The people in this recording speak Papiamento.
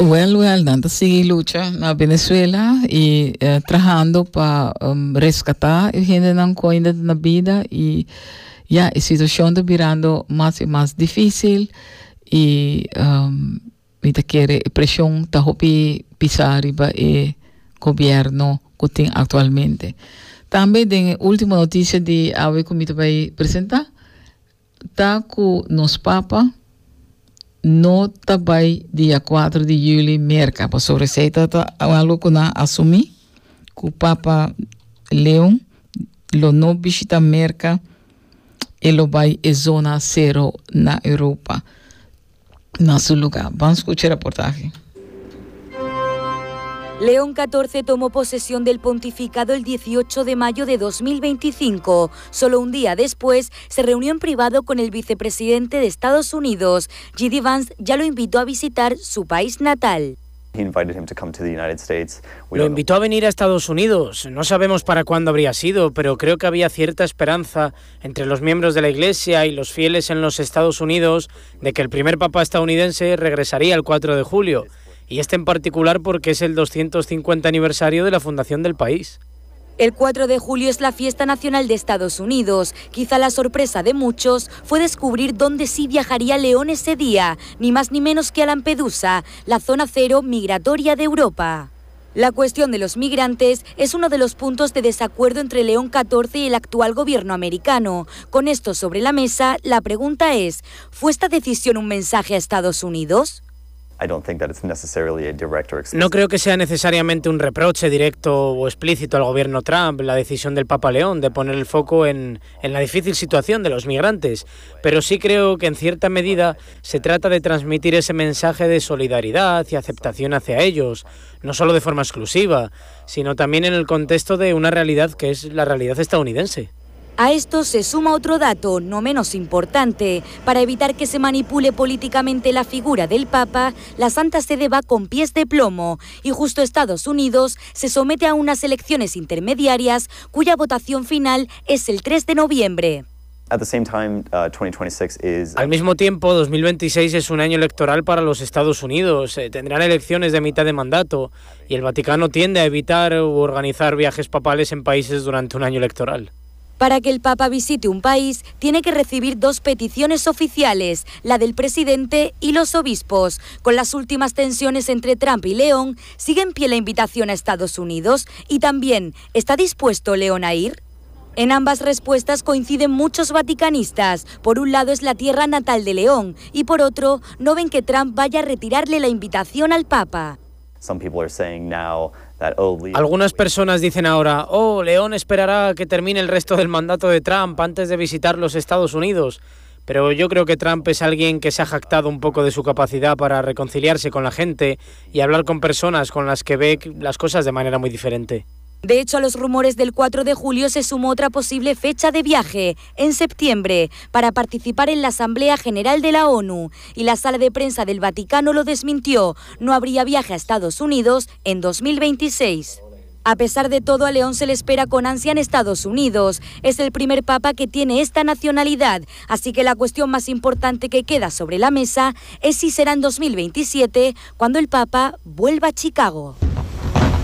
Wel, wel, nan ta sigui lucha na Venezuela y eh, trahando pa um, rescata e hendenan cu ainda ta na bida y ya, e situacion ta birando mas y mas dificil y um, mi ta kere e presion ta hopi pisa riba e gobierno cu tin actualmente. Tambe den e ultimo noticia di awe cu mi ta bay presenta, Ta cu nos papa no ta bay dia cuatro di juli Merca, pasobra esey ta ta algo cu nan a asumi, cu papa Leon lo no bishita Merca, e lo bay e zona cero na Europa. Na su lugar. Ban scucha e reportahe. León XIV tomó posesión del pontificado el 18 de mayo de 2025. Solo un día después, se reunió en privado con el vicepresidente de Estados Unidos. J.D. Vance ya lo invitó a visitar su país natal. Lo invitó a venir a Estados Unidos. No sabemos para cuándo habría sido, pero creo que había cierta esperanza entre los miembros de la Iglesia y los fieles en los Estados Unidos de que el primer papa estadounidense regresaría el 4 de julio, y este en particular porque es el 250 aniversario de la fundación del país. El 4 de julio es la fiesta nacional de Estados Unidos. Quizá la sorpresa de muchos fue descubrir dónde sí viajaría León ese día, ni más ni menos que a Lampedusa, la zona cero migratoria de Europa. La cuestión de los migrantes es uno de los puntos de desacuerdo entre León XIV y el actual gobierno americano. Con esto sobre la mesa, la pregunta es, ¿fue esta decisión un mensaje a Estados Unidos? No creo que sea necesariamente un reproche directo o explícito al gobierno Trump la decisión del Papa León de poner el foco en, en la difícil situación de los migrantes, pero sí creo que en cierta medida se trata de transmitir ese mensaje de solidaridad y aceptación hacia ellos, no solo de forma exclusiva, sino también en el contexto de una realidad que es la realidad estadounidense. A esto se suma otro dato, no menos importante. Para evitar que se manipule políticamente la figura del Papa, la Santa Sede va con pies de plomo y justo Estados Unidos se somete a unas elecciones intermediarias cuya votación final es el 3 de noviembre. Al mismo tiempo, 2026 es un año electoral para los Estados Unidos. Tendrán elecciones de mitad de mandato y el Vaticano tiende a evitar u organizar viajes papales en países durante un año electoral. Para que el Papa visite un país, tiene que recibir dos peticiones oficiales, la del presidente y los obispos. Con las últimas tensiones entre Trump y León, sigue en pie la invitación a Estados Unidos y también, ¿está dispuesto León a ir? En ambas respuestas coinciden muchos vaticanistas. Por un lado es la tierra natal de León y por otro no ven que Trump vaya a retirarle la invitación al Papa. Algunas personas dicen ahora, oh, León esperará a que termine el resto del mandato de Trump antes de visitar los Estados Unidos. Pero yo creo que Trump es alguien que se ha jactado un poco de su capacidad para reconciliarse con la gente y hablar con personas con las que ve las cosas de manera muy diferente. De hecho, a los rumores del 4 de julio se sumó otra posible fecha de viaje, en septiembre, para participar en la Asamblea General de la ONU. Y la sala de prensa del Vaticano lo desmintió. No habría viaje a Estados Unidos en 2026. A pesar de todo, a León se le espera con ansia en Estados Unidos. Es el primer papa que tiene esta nacionalidad, así que la cuestión más importante que queda sobre la mesa es si será en 2027 cuando el papa vuelva a Chicago.